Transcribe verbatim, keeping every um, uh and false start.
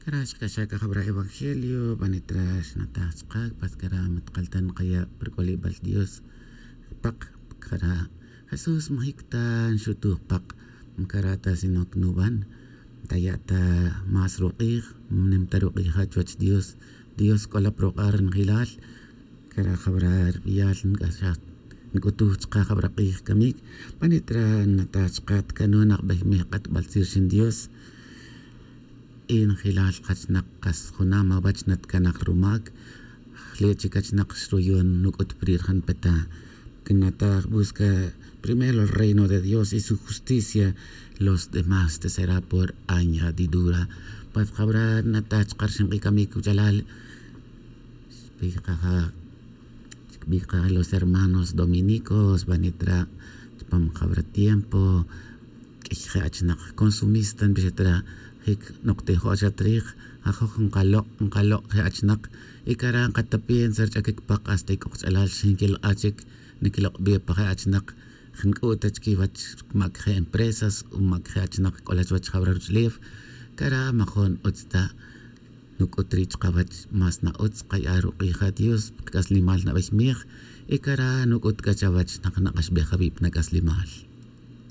Cara' xk'axaj c'a jabara' evangelio banit ra xnataj chka' pat cara' matkaltan kaya' pa ruk'olibal dios. Pak cara' jesús majic ta nxutuj pak. Cara' ta sino que nuban taya' ta más ruk'ij. Nim ta ruk'ija chuwech dios. Dios c'ola pa ruk'a' rinjilal. Cara' jabara' ribiyal nc'axaj nc'utuj chka' jabara' k'ij camic. Banit ra nataj chka' tcano' nakbeyimej k'atbal tzij rixin dios. Y njelal kachnak kas junam awech natcanak rumac. Jle' chic achnak xruyon nuc'ut pri' rajan peta. Canataj busca primero el reino de dios y su justicia. Los demás te será por añadidura. Pues jabara' nataj chka' rixin k'ij camic wuchalal. Xbij kaja' xkbij kaja' los hermanos dominicos banit ra' chupam jabara' tiempo. Q'uiy je' achnak consumista nbixat ra' jic noktejo' xat rij. Ajoj nkalok' nkalok' je' achnak. Y cara' nkatapiensa rich'aquic pak hasta y c'o kach'alal xinquilk'a' chic. Niquilok' bi pa je' achnak. Jnc'u' ta chiquiwech mac je' empresas o mac je' achnak c'ola chuwech jabara' ruch'ulef. Cara' majon utz ta nuc'ut ri' chkawech. Más na'utz kaya' ruk'ija' dios pa kac'aslimal nabeyimej. Y cara' nuc'ut c'a chawech nak nak'axbej awi' pa nac'aslimal.